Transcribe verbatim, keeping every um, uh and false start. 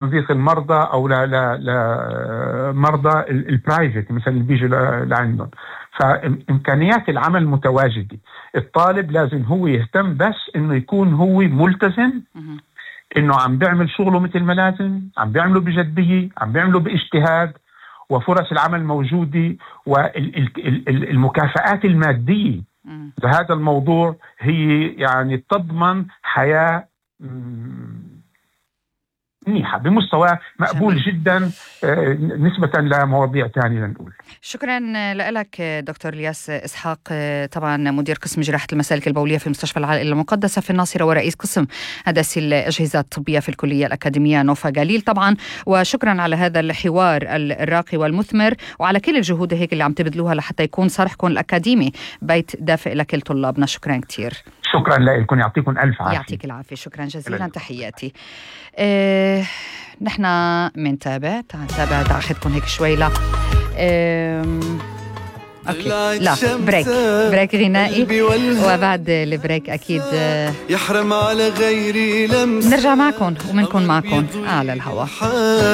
تنظيف المرضى أو لا لا لا مرضى البرايفت مثلا اللي بيجوا لعندهم. فإمكانيات العمل متواجدة. الطالب لازم هو يهتم بس إنه يكون هو ملتزم، إنه عم بيعمل شغله مثل ما لازم، عم بيعمله بجدية، عم بيعمله باجتهاد، وفرص العمل موجودة، والمكافآت المادية لهذا الموضوع هي يعني تضمن حياة منيحة بمستوى مقبول جميل. جدا نسبة لمواضيع تانية لنقول. شكرا لك دكتور الياس إسحاق، طبعا مدير قسم جراحة المسالك البولية في مستشفى العائلة المقدسة في الناصرة ورئيس قسم هندسة الأجهزة الطبية في الكلية الأكاديمية نوفا جليل طبعا. وشكرا على هذا الحوار الراقي والمثمر، وعلى كل الجهود هيك اللي عم تبذلوها لحتى يكون صرحكم الأكاديمي بيت دافئ لكل طلابنا. شكرا كتير. شكرا لكم، يعطيكم ألف عافية. يعطيك العافية، شكرا جزيلا، تحياتي. إيه نحن منتابع تابع تاخذكم هيك شوي. لا إيه اوكي لا بريك بريك غنائي، وبعد البريك اكيد يحرم على غيري لمس نرجع معكم ومنكم معكم على الهواء.